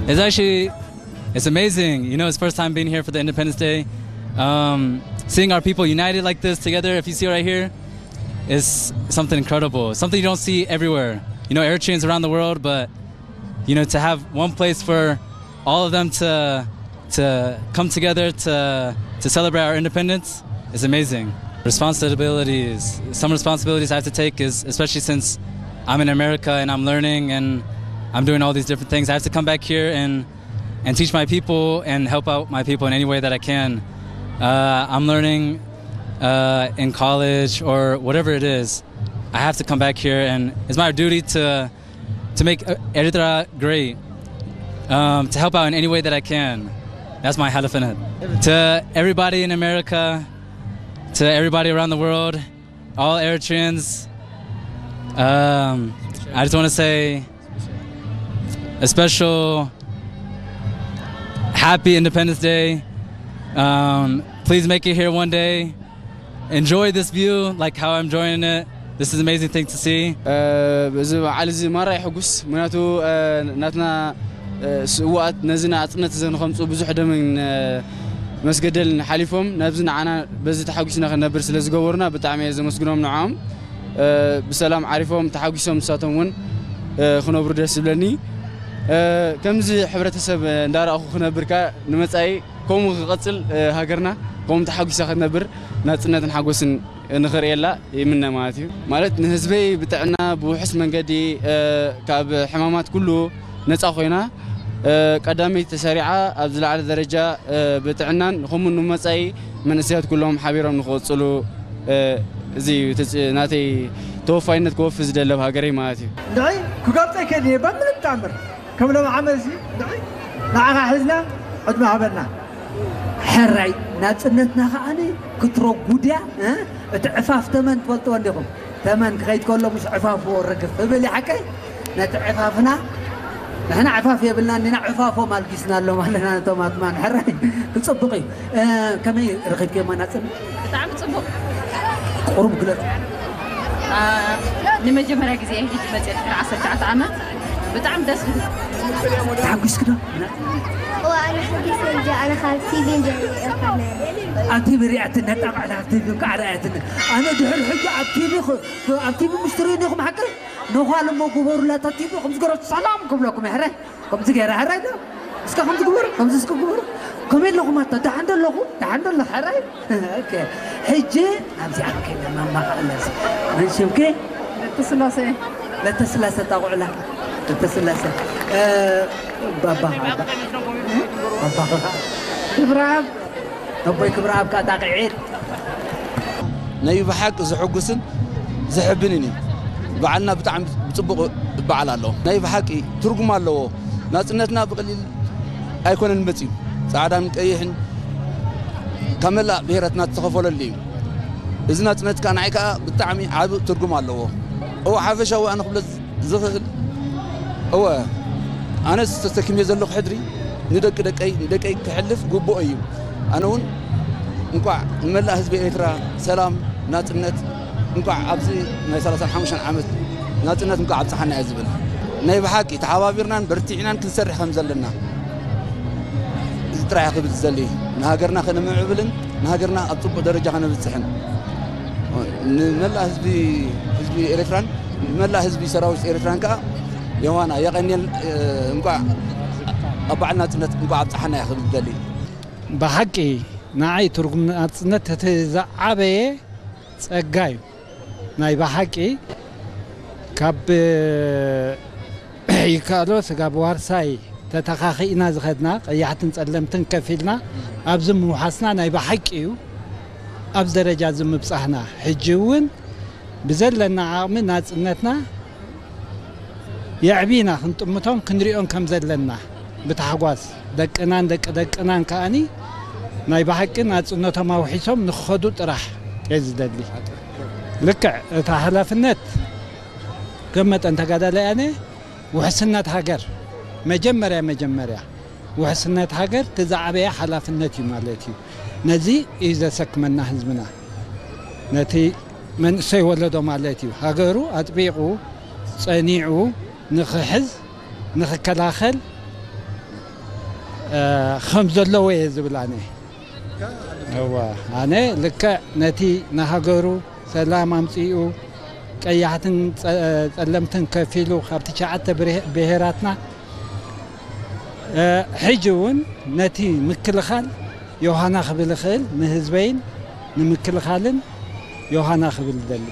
It's actually, it's amazing. You know, it's first time being here for the Independence Day. Um, seeing our people united like this together, if you see right here, is something incredible. Something you don't see everywhere. You know, Eritreans around the world, but you know, to have one place for all of them to to come together to to celebrate our independence is amazing. Responsibilities. Some responsibilities I have to take is, especially since I'm in America and I'm learning and I'm doing all these different things. I have to come back here and and teach my people and help out my people in any way that I can. Uh, I'm learning uh, in college or whatever it is. I have to come back here, and it's my duty to to make uh, Eritrea great, um, to help out in any way that I can. That's my halafenat. To everybody in America, to everybody around the world, all Eritreans, um, I just want to say a special happy Independence Day. Um, please make it here one day. Enjoy this view like how I'm enjoying it. This is an amazing thing to see. እዚ በዓል እዚ ማራ የሐጉስ። ምክንያቱ ናትና ስውኣት ነዚ ናጽነት ዘንኸምፁ ብዙሕ ደምን መስገደልን ሓሊፎም ነብዚ ንዓና በዚ ተሓጒስና ክንነብር ስለ ዝገበሩና ብጣዕሚ እየ ዘመስግኖም። ንዓኦም ብሰላም ዓሪፎም ተሓጒሶም ንሳቶም እውን ክነብሩ ደስ ዝብለኒ። ከምዚ ሕብረተሰብ እንዳረእኹ ክነብርካ ንመፃኢ ከምኡ ክቐፅል ሃገርና ከምኡ ተሓጒሳ ክትነብር ናፅነትን ሓጎስን ንኽርእየላ ይምነ ማለት እዩ። ማለት ንህዝበይ ብጥዕና ብውሑስ መንገዲ ካብ ሕማማት ኩሉ ነፃ ኮይና ቀዳመይቲ ተሰሪዓ ኣብ ዝለዓለ ደረጃ ብጥዕናን ከምኡ ንመፃኢ መንእሰያት ኩሎም ሓቢሮም ንክቕፅሉ እዚ እዩ ናተይ ተወፋይነት ክወፊ ዝደለብ ሃገረይ ማለት እዩ። ንዒ ክገልፀ ይክእል እየ በምንም ተኣምር ከም ሎም ዓመት እዚ ንዒ ንዓኻ ሒዝና ዕድመ ሃበና። ሕራይ ናፅነትና ከዓኒ ክትረጉድያ እቲ ዕፋፍ ተመን ትፈልጥዎ እንዲኹም። ተመን ክኸይድ ከሎ ምስ ዕፋፍዎ ርግፍ እብል ሓቀይ ነቲ ዕፋፍና ንሕና ዕፋፍ የብልና እንዲና ዕፋፎም ኣልጊስና ኣሎ ማለና ነቶም ኣትማን ሕራይ ክፅቡቅ እዩ። ከመይ ረኺብክዮ ናፅነት? ብጣዕሚ ፅቡቅ። ቁሩብ ግለፅ። ንመጀመርያ ግዜ ሕጂ መፅእ ድሕሪ ዓሰርተ ትሽዓተ ዓመት ብጣዕሚ ደስ ዝብል። ተሓጒስክ ዶ? እዋ ኣነ ሓጊሰ እንጂ ኣነ ካብ ቲቪ እንጂ ሪኤ ኣይኮነን። ኣብ ቲቪ ሪኣትኒ ነጣቕዕላ ኣብ ቲቪ ከዓ ርኣያትኒ ኣነ ድሕሪ ሕጂ ኣብ ቲቪ ኣብ ቲቪ ምስትሪ ዲኹም ሓቂ ነዃል እሞ ግበሩላ እታ ቲቪ ከምዚ ገይረ ሰላም ክብለኩም ሕረ ከምዚ ገይረ ሕረ ዶ እስከ ከምዚ ግበሩ ከምዚ እስከ ግበሩ ከመይ ኣለኹም ኣታ ደሓን ዶ ኣለኹ ደሓን ዶ ኣለኹ ሕረ ሕጂ ኣብዚኣ ከይደ መማቕ ኣለዚ መን ሽምኪ ለተስላሴ ለተስላሴ ጣቑዕላ ለተስላሴ ባባ ባባ ክብራብ ኣቦይ ክብራብ ካጣቂዒት ናይ ብሓቂ ዘሐጉስን ዘሕብንን እዩ። በዓልና ብጣዕሚ ብፅቡቕ በዓል ኣሎ። ናይ ብሓቂ ትርጉም ኣለዎ። ናፅነትና ብቐሊል ኣይኮነን መፅዩ። ፃዕዳን ቀይሕን ካብ መላእ ብሄራትና ዝተኸፈለሉ እዩ። እዚ ናፅነት ከዓ ንዓይ ከዓ ብጣዕሚ ዓቢ ትርጉም ኣለዎ። እወ ሓፈሻዊ ኣነ ክብሎ ዝኽእል እወ ኣነስ ተሰኪመዮ ዘለኹ ሕድሪ ንደቂ ደቀይ ንደቀይ ክሕልፍ ግቡኦ እዩ። ኣነ እውን እንኳዕ ንመላእ ህዝቢ ኤርትራ ሰላም ናፅነት እንኳዕ ኣብዚ ናይ ሰላሳን ሓሙሽተን ዓመት ናፅነት እንኳዕ ኣብፀሓና እየ ዝብል። ናይ ብሓቂ ተሓባቢርናን በርቲዕናን ክንሰርሕ ከም ዘለና እዚ ጥራሕ ክብል ዝደሊ ንሃገርና ከነምዕብልን ንሃገርና ኣብ ፅቡቅ ደረጃ ከነብፅሕን ንመላእ ህዝቢ ህዝቢ ኤርትራን ንመላእ ህዝቢ ሰራዊት ኤርትራን ከዓ ዮሃና የቐንየል እንኳዕ ኣብ በዓል ናፅነት እንኳዕ ኣብፀሓና እየ ክብል ዝደሊ። ብሓቂ ንዓይ ትርጉም ናፅነት እቲ ዝዓበየ ፀጋ እዩ። ናይ ብሓቂ ካብ ይከኣሎ ስጋብ ዋርሳይ ተተኻኺእና ዝኸድና ቀያሕትን ፀለምትን ከፊልና ኣብዚ ምውሓስና ናይ ብሓቂ እዩ ኣብዚ ደረጃ እዚ ምብፃሕና። ሕጂ እውን ብዘለና ዓቕሚ ናፅነትና የዕቢና ክንጥምቶም ክንሪኦን ከም ዘለና ብታሕጓስ ደቅናን ደቂ ደቅናን ከኣኒ ናይ ብሓቂ ናፅነቶም ኣውሒሶም ንክኸዱ ጥራሕ እየ ዝደሊ። ልክዕ እታ ሓላፍነት ከም መጠን ተጋዳላይ ኣነ ውሕስነት ሃገር መጀመርያ መጀመርያ ውሕስነት ሃገር እቲ ዝዓበየ ሓላፍነት እዩ ማለት እዩ። ነዚ እዩ ዘሰክመና ህዝብና። ነቲ መንእሰይ ወለዶ ማለት እዩ ሃገሩ ኣጥቢቑ ጸኒዑ ንኽሕዝ ንኽከላኸል ከም ዘለዎ እየ ዝብል ኣነ። እዋ ኣነ ልክዕ ነቲ ንሃገሩ ሰላም ኣምጺኡ ቀያሕትን ጸ- ጸለምትን ከፊሉ ካብ ትሽዓተ ብርሄ- ብሄራትና ሕጂ እውን ነቲ ምክልኻል ዮሃና ክብል እኽእል ንህዝበይን ንምክልኻልን ዮሃና ክብል እደሊ።